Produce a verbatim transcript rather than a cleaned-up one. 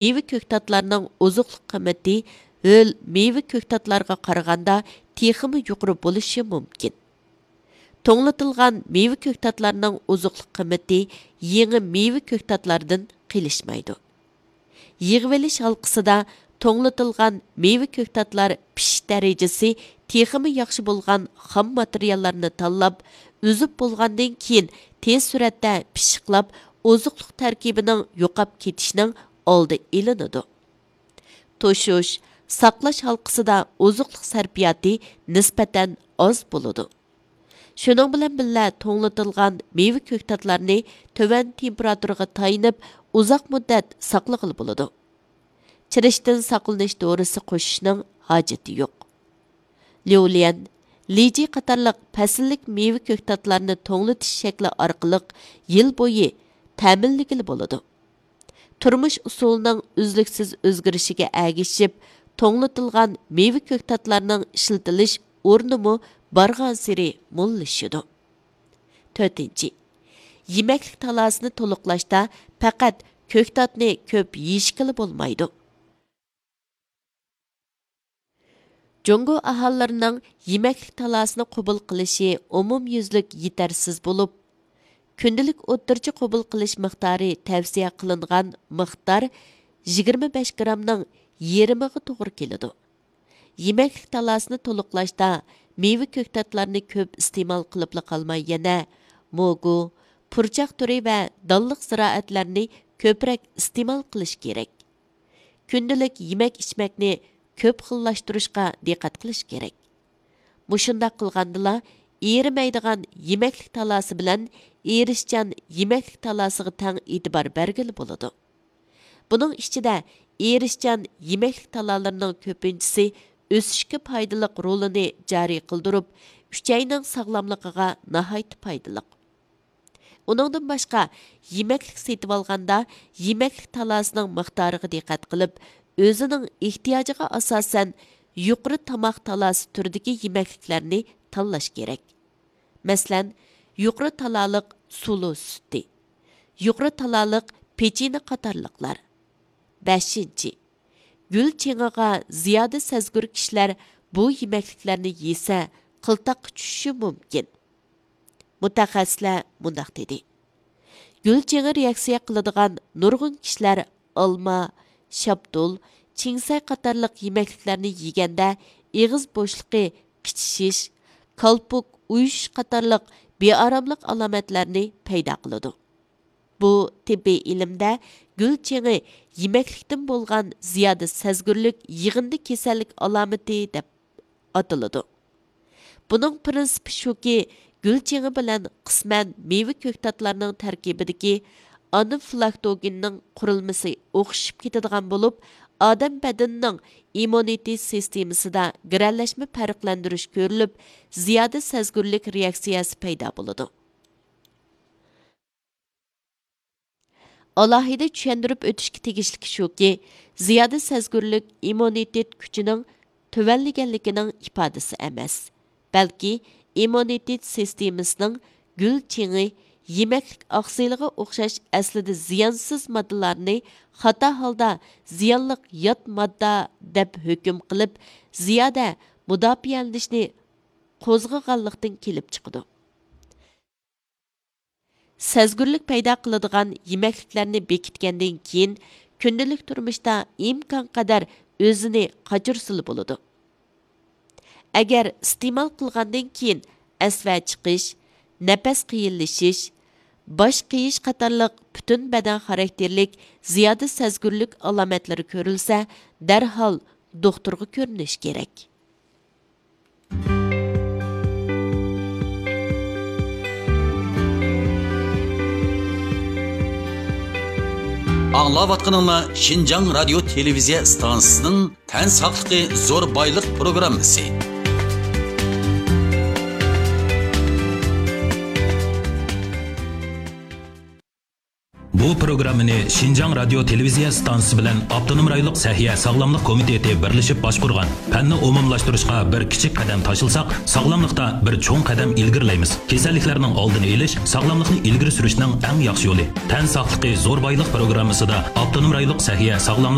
مېۋە كۆكتاتلارنىڭ ئوزۇقلۇق قىممىتى ھۆل مېۋە كۆكتاتلارغا قارىغاندا تېخىمۇ يۇقىرى بولۇشى مۇمكىن. توڭلىتىلغان مېۋە كۆكتاتلارنىڭ ئوزۇقلۇق قىممىتى يېڭى مېۋە كۆكتاتلاردىن قېلىشمايدۇ. يىغىۋېلىش ھالقىسىدا توڭلىتىلغان مېۋە كۆكتاتلار پىشىش دەرىجىسى تېخىمۇ ياخشى بولغان خام ماتېرىياللارنى تاللاپ، ئۈزۈپ بولغاندىن كېيىن تېز سۈرئەتتە پىششىقلاپ، ئوزۇقلۇق تەركىبىنىڭ يوقاپ كېتىشىنىڭ ئالدى ئېلىنىدۇ. توشۇش، ساقلاش ھالقىسىدا ئوزۇقلۇق سەرپىياتى نىسبەتەن ئاز بولىدۇ. شۇنىڭ بىلەن بىللە، توڭلىتىلغان مېۋە كۆكتاتلارنى تۆۋەن تېمپېراتۇرىغا تايىنىپ ئۇزاق مۇددەت ساقلىغىلى بولىدۇ. چىرىشتىن ساقلىنىش دورىسى قوشۇشنىڭ ھاجىتى يوق. ليۇليەن، لىجى قاتارلىق پەسىللىك مېۋە كۆكتاتلارنى توڭلىتىش شەكلى ئارقىلىق يىل بويى تەمىنلىگىلى بولىدۇ. تۇرمۇش ئۇسۇلىنىڭ ئۈزلۈكسىز ئۆزگىرىشىگە ئەگىشىپ، توڭلىتىلغان مېۋە كۆكتاتلارنىڭ ئىشلىتىلىش ئورنىمۇ بارغانسېرى موللىشىدۇ. تۆتىنچى، يېمەكلىك تالاسىنى تولۇقلاشتا پەقەت كۆكتاتنى كۆپ يېيىشكىلا بولمايدۇ. جۇڭگو ئاھالىلىرىنىڭ يېمەكلىك تالاسىنى قوبۇل قىلىشى ئومۇميۈزلۈك يېتەرسىز بولۇپ، كۈندىلىك ئوتتۇرىچە قوبۇل قىلىش مىقدارى تەۋسىيە قىلىنغان مىقدار يىگىرمە بەش گرامنىڭ يېرىمىغا توغرا كېلىدۇ. يېمەكلىك تالاسىنى تولۇقلاشتا مېۋە كۆكتاتلارنى كۆپ ئىستېمال قىلىپلا قالماي، يەنە موگۇ، پۇرچاق تۈرى ۋە دانلىق زىرائەتلەرنى كۆپرەك ئىستېمال قىلىش كېرەك. كۈندىلىك يېمەك-ئىچمەكنى كۆپ خىللاشتۇرۇشقا دىققەت قىلىش كېرەك. مۇشۇنداق قىلغاندىلا، ئېرىمەيدىغان يېمەكلىك تالاسى بىلەن ئېرىشچان يېمەكلىك تالاسىغا تەڭ ئېتىبار بەرگىلى بولىدۇ. بۇنىڭ ئىچىدە ئېرىشچان يېمەكلىك تالالىرىنىڭ كۆپىنچىسى ئۆسۈشكە پايدىلىق رولىنى جارى قىلدۇرۇپ، ئۈچەينىڭ ساغلاملىقىغا ناھايىتى پايدىلىق. ئۇنىڭدىن باشقا، يېمەكلىك سېتىۋالغاندا يېمەكلىك تالاسىنىڭ مىقدارىغا دىققەت قىلىپ، ئۆزىنىڭ ئېھتىياجىغا ئاساسەن يۇقىرى تاماق تالاسى تۈرىدىكى يېمەكلىكلەرنى تاللاش كېرەك. مەسىلەن، يۇقىرى تالالىق سۇلۇ سۈتى، يۇقىرى تالالىق پېچىنە قاتارلىقلار. بەشىنچى، گۈل چېڭىغا زىيادە سەزگۈر كىشىلەر بۇ يېمەكلىكلەرنى يېسە، قىلتاققا چۈشۈشى مۇمكىن. مۇتەخەسسىسلەر مۇنداق دېدى: گۈل چېڭى رېئاكسىيە قىلىدىغان نۇرغۇن كىشىلەر ئالما، شاپتۇل، چىڭسەي قاتارلىق يېمەكلىكلەرنى يېگەندە ئېغىز بوشلۇقى قىچىشىش، كالپۇك ئۇيۇشۇش قاتارلىق بىئاراملىق ئالامەتلەرنى پەيدا قىلىدۇ. بۇ تېببىي ئىلىمدە گۈل چېڭى يېمەكلىكتىن بولغان زىيادە سەزگۈرلۈك يىغىندى كېسەللىك ئالامىتى دەپ ئاتىلىدۇ. بۇنىڭ پىرىنسىپى شۇكى، گۈل چېڭى بىلەن قىسمەن مېۋە كۆكتاتلارنىڭ تەركىبىدىكى ئانافلاكتوگېننىڭ قۇرۇلمىسى ئوخشىشىپ كېتىدىغان بولۇپ، ئادەم بەدىنىنىڭ ئىممۇنىتېت سىستېمىسىدا گىرەلەشمە پەرقلەندۈرۈش كۆرۈلۈپ، زىيادە سەزگۈرلۈك رېئاكسىيەسى پەيدا بولىدۇ. ئالاھىدە چۈشەندۈرۈپ ئۆتۈشكە تېگىشلىكى شۇكى، زىيادە سەزگۈرلۈك ئىممۇنىتېت كۈچىنىڭ تۆۋەنلىگەنلىكىنىڭ ئىپادىسى ئەمەس، بەلكى ئىممۇنىتېت سىستېمىسىنىڭ گۈل چېڭى، يېمەكلىك ئاقسىلىغا ئوخشاش ئەسلىدە زىيانسىز ماددىلارنى خاتا ھالدا زىيانلىق يات ماددا دەپ ھۆكۈم قىلىپ، زىيادە مۇداپىئەلىنىشنى قوزغىغانلىقتىن كېلىپ چىقىدۇ. سەزگۈرلۈك پەيدا قىلىدىغان يېمەكلىكلەرنى بېكىتكەندىن كېيىن، كۈندىلىك تۇرمۇشتا ئىمكانقەدەر ئۆزىنى قاچۇرسىلا بولىدۇ. ئەگەر ئىستېمال قىلغاندىن كېيىن ئەسۋە چىقىش، نەپەس قىيىنلىشىش، باش قېيىش قاتارلىق پۈتۈن بەدەن خاراكتېرلىك زىيادە سەزگۈرلۈك ئالامەتلىرى كۆرۈلسە، دەرھال دوختۇرغا كۆرۈنۈش كېرەك. ئاڭلاۋاتقىنىڭلار شىنجاڭ رادىيو تېلېۋىزىيە ئىستانسىسىنىڭ تەن ساقلىقى زور بايلىق پروگراممىسى. بۇ پروگراممىنى شىنجاڭ رادىيو تېلېۋىزىيە ئىستانسىسى بىلەن ئاپتونوم رايونلۇق سەھىيە ساغلاملىق كومىتېتى بىرلىشىپ باشقۇرغان. پەننى ئومۇملاشتۇرۇشقا بىر كىچىك قەدەم تاشلىساق، ساغلاملىقتا بىر چوڭ قەدەم ئىلگىرىلەيمىز. كېسەللىكلەرنىڭ ئالدىنى ئېلىش ساغلاملىقنى ئىلگىرى سۈرۈشنىڭ ئەڭ ياخشى يولى. تەن ساقلىقى زور بايلىق پروگراممىسىدا ئاپتونوم رايونلۇق سەھىيە ساغلاملىق